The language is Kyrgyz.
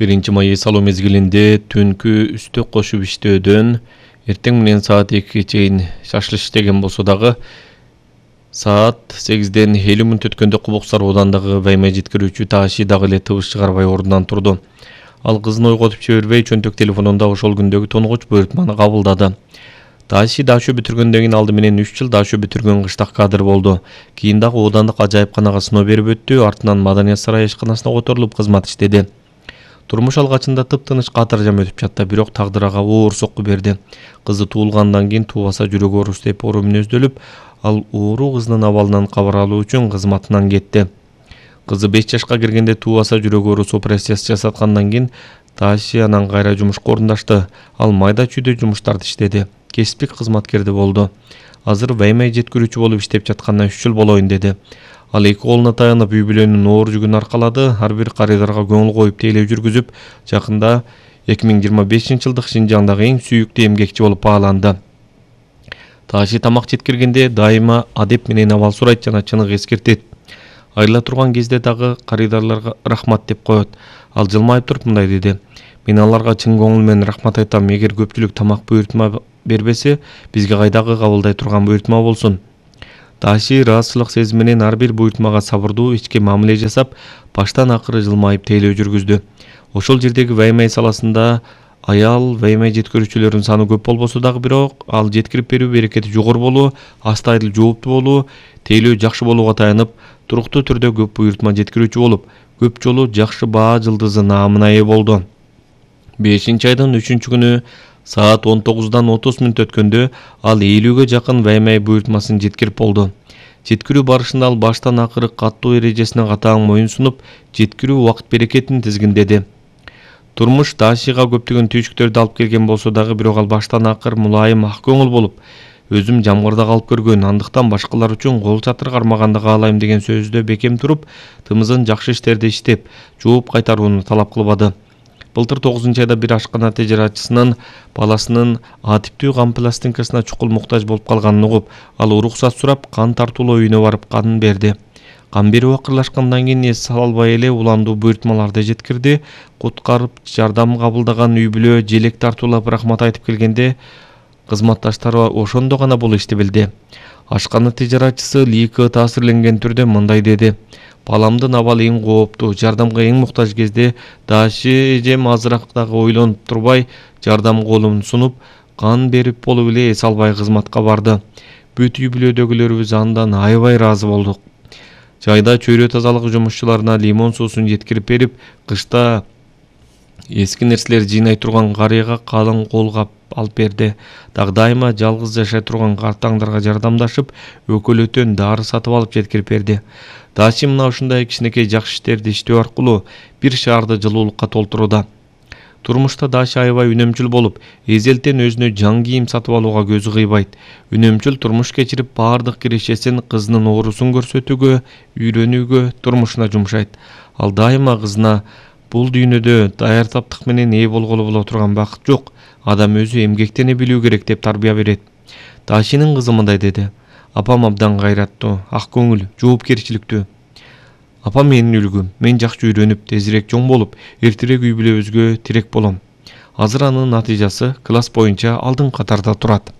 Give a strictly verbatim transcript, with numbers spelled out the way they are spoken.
биринчи май эс алуу мезгилинде түнкү үстөк кошуп иштөөдөн эртең менен саат экиге чейин шашлык иштеген болсо дагы саат сегизден элүү мүнөт өткөндө Кубуксар ооданындагы вайма жеткирүүчү Тааши дагы эле тыбыш чыгарбай ордунан турду. Ал кызын ойготуп жибербей чөнтөк телефонунда ошол күндөгү тонгоч буйртманы кабылдады. Тааши дашуу бүтүргөндөн кийин алды менен үч жыл дашуу бүтүргөн кыштак кадр болду. Кийин дагы оодандык ажайыпканага сыноо берип өттү, артынан Маданият сарайы ишканасына которулуп кызмат иштеди. Турмуш алгачында тыптыныч катыржам өтүп жатты, бирок тагдыр ага оор сокку берди. Кызы туулгандан кийин туубаса жүрөгү оорус деп оору мүнөздөлүп, ал ууруу кызынын абалынан кабар алуу үчүн кызматынан кетти. Кызы беш жашка киргенде туубаса жүрөгү оорус операциясы жасаткандан кийин Тааши анан кайра жумушка орундашты. Ал майда чүйдө жумуштарды иштеди. Кесиптик кызматкерди болду. Азыр ваймай жеткирүүчү болуп иштеп жатканына үч жыл болоюн деди. Ал эки колуна таянып үй бүлөнүн оор жүгүн аркалады, ар бир карыдарга көңүл коюп тейлөө жүргүзүп, жакында эки миң жыйырма бешинчи жылдык Шинжаңдагы эң сүйүктүү эмгекчи болуп бааланды. Тааши тамак жеткиргенде дайыма адеп менен абал сурайт жана чыныгы эскертет. Айыла турган кезде дагы карыдарларга рахмат деп коет. Ал жылмайып туруп мындай деди: "Мен аларга чын көңүл менен рахмат айтам. Эгер көпчүлүк тамак буйртма бербесе, бизге кайдагы кабылдай турган буйртма болсун." Тааши ыраазычылык сезими менен ар бир буйртмага сабырдуу ички мамиле жасап, баштан акыры жылмайып тейлөө жүргүздү. Ошол жердеги ваймай саласында аял ваймай жеткирүүчүлөрдүн саны көп болбосо дагы, бирок ал жеткирип берүү берекети жогору болуу, астайыл жооптуу болуу, тейлөө жакшы болууга таянып, туруктуу түрдө көп буйртма жеткирүүчү болуп, көп жолу жакшы баа жылдызы наамына ээ болду. бешинчи айдын үчүнчү күнү саат он тогуздан отуз мүнөт өткөндө ал элүүгө жакын ваймай буйртмасын жеткирип болду. Жеткирүү барышында ал баштан акыры каттуу эрежесине катаң моюн сунуп, жеткирүү убакыт берекетин тизгиндеди. Турмуш Таашига көптөгөн түйшүктөрдү алып келген болсо дагы, бирок ал баштан акыр мулайым, ак көңүл болуп, өзүм жамгырда калып көргөн, андыктан башкалар үчүн кол чатыр кармаганды каалайм деген сөздө бекем туруп, тымызын жакшы иштерди иштеп, жооп кайтарууну талап кылбады. Былтыр тогузунчу айда бир ашкана тежератчысынын баласынын А типтүү кан пластинкасына чукул муктаж болуп калганын угуп, ал уруксат сурап, кан тартуулоо үйүнө барып кан берди. Кан берүү акырлашкандан кийин эс албай эле уландуу буйртмаларды жеткирди. Куткарып жардам кабылдаган үй бүлө желек тартуулап рахмат айтып келгенде, кызматташтары ошондо гана бул ишти билди. Ашкана тежератчысы лийкы таасирленген түрдө мындай деди: "Баламдын абалы эң кооптуу, жардамга эң муктаж кезде Тааши эжем азыраак дагы ойлонуп турбай жардам колун сунуп, кан берип болуп эле эс албай кызматка барды. Бүт үй бүлөдөгүлөрүбүз андан аябай ыраазы болдук. Жайда чөйрө тазалыгы жумушчуларына лимон суусун жеткирип берип, кышта эски нерселер жыйнай турган карыяга калың кол кап алып берди. Дагы дайыма жалгыз жашай турган картаңдарга жардамдашып, өкөлөтөн дары сатып алып жеткирип берди. Тааши мына ушундай кичинекей жакшы иштерди иштөө аркылуу бир шаарды жылуулукка толтурууда. Турмушта Тааши аябай үнөмчүл болуп, эзелтен өзүнө жан кийим сатып алууга көзү кыйбайт. Үнөмчүл турмуш кечирип, баардык кирешесин кызынын оорусун көрсөтүүгө, үйрөнүүгө, турмушуна жумшайт. Ал дайыма кызына: "Бул дүйнөдө даяр таптык менен ээ болголу боло турган бакыт жок. Адам өзү эмгектене билүү керек" деп тарбия берет. Таашинин кызы мындай деди: "Апам абдан кайраттуу, ак көңүл, жоопкерчиликтүү. Апам менин үлгүм. Мен жакшы үйрөнүп, тезирээк чоң болуп, эртерээк үй бүлөбүзгө тирек болом. Азыр анын натыйжасы класс боюнча алдыңкы катарда турат."